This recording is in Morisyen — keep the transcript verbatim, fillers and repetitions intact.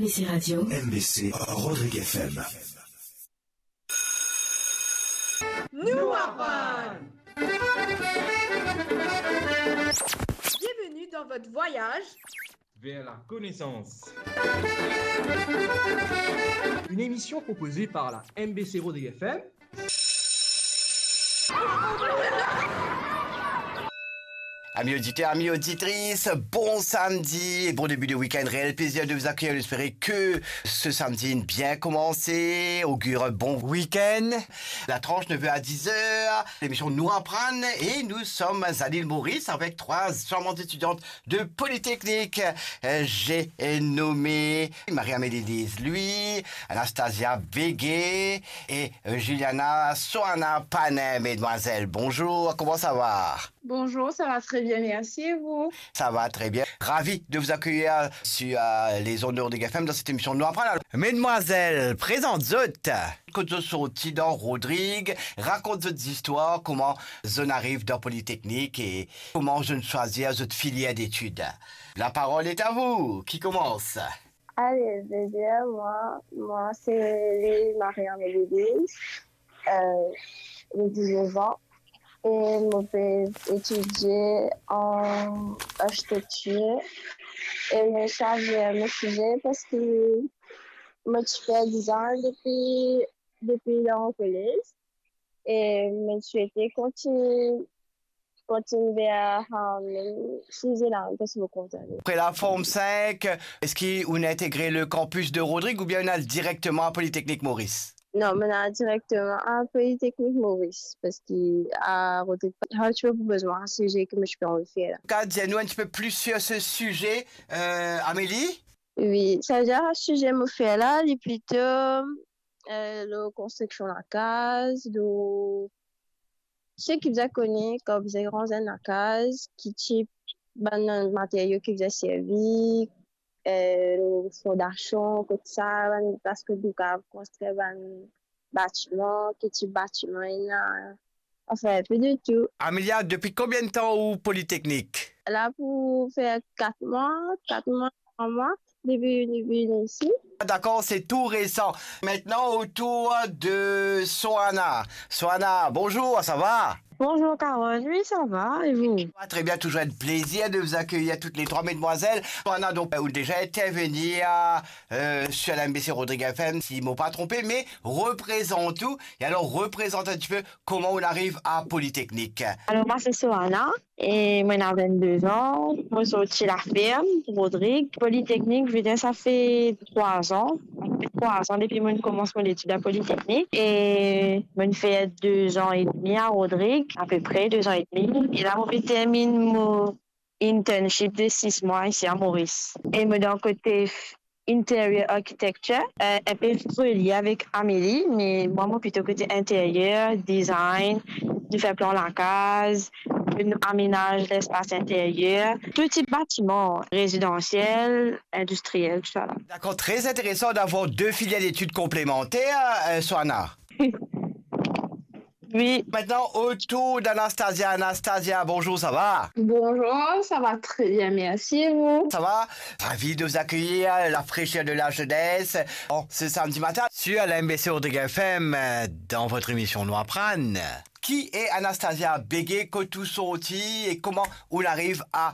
Ici Radio. M B C Rodrigues F M. Nou aprann. Bienvenue dans votre voyage vers la connaissance. Une émission proposée par la M B C Rodrigues F M. Amis auditeurs, amis auditrices, bon samedi et bon début de week-end. Réel plaisir de vous accueillir. Nous espérons que ce samedi bien commencé, augure un bon week-end. La tranche neuf heures à dix heures, l'émission Nou Aprann et nous sommes à l'île Maurice avec trois charmantes étudiantes de Polytechnique. Euh, j'ai nommé Marie-Amélie Lise Louis, Anastasia Béguet et euh, Juliana Soana Panin. Mesdemoiselles, bonjour, comment ça va ? Bonjour, ça va très bien, merci, et vous ? Ça va très bien. Ravi de vous accueillir sur euh, les ondes de Rodrigues F M dans cette émission Nou Aprann. Alors, mesdemoiselles, prezant zot. Kot zot sorti dan Rodrigues, rakont zot zistwar, kouma zot ariv dan Polytechnique et kouma zot swazir zot filière d'études. La parole est à vous. Qui commence ? Allez, je vais dire, moi, moi, c'est Marie-Amélie Lise. Euh, j'ai dix-neuf ans et je vais étudier en architecture. Et je choisis mon sujet parce que moi, je fais design depuis, depuis le collège. E mo swete kontign, kontign ver, um, size la, parski mo kontan. Après la Form cinq, est-ce qu'on intègre le campus de Rodrigues ou bien on al directement à Polytechnique Maurice ? Non, mo al direkteman a Polytechnique Maurice, parski a Rodrigues, pa ti pou bizin size ki mo ti pe anvi fer la. Ka dir nou un petit peu plus sur ce sujet, euh, Amélie ? Wi, savedir size mo fer la, li plito, euh, lor konstriksion lakaz, lor seki bizin kone kan bizin ranz enn lakaz, ki tip bann materio ki bizin servi, euh, fondasion, kot sa, bann, parski nou kapav konstrir bann batiman, ki tip batiman ena, anfin, inpe de tou. Amelia, depuis combien de temps au Polytechnique ? La pou fer kat mwa, kat mwa, trwa mwa, depi, depi vini isi. D'accord, c'est tout récent. Maintenant, au tour de Soana. Soana, bonjour, ça va ? Bonjour Carole, oui ça va, et vous ? Ça va très bien, toujours un plaisir de vous accueillir toutes les trois, mesdemoiselles. Soana, donc, euh, déjà intervenir euh, sur la M B C Rodrigues F M, si mo pa tronpe, mais représente tout. Et alors, représente un petit peu comment on arrive à Polytechnique. Alors, moi c'est Soana. E mo ena vennde-de-an, mo sorti Laferm, Rodrigues. Polytechnique, je veux dire, ça fait trois ans, ça fait trois ans depuis que j'ai commencé mon étude à Polytechnique. E mo fer deux ans et demi à Rodrigues, à peu près deux ans et demi. E la, mo pe termine mon internship de six mois ici à Maurice. E mo dan kote interior architecture, euh, inpe relie avek Amélie, me mwa, mo plito kote interieur, design, nou fer plan lakaz, nou amenaz lespas interier, tou tip batiman, rezidansiel, industriel, tousala. D'accord, très intéressant d'avoir deux filières d'études complémentaires, euh, Soana. Oui. Maintenant, au tour d'Anastasia. Anastasia, bonjour, ça va ? Bonjour, ça va très bien, merci, et vous ? Ça va ? Ravi de vous accueillir à la fraîcheur de la jeunesse en ce samedi matin sur la M B C Rodrigues F M, euh, dans votre émission Nou Aprann. Qui est Anastasia Béguet, kot ou sorti et comment on arrive à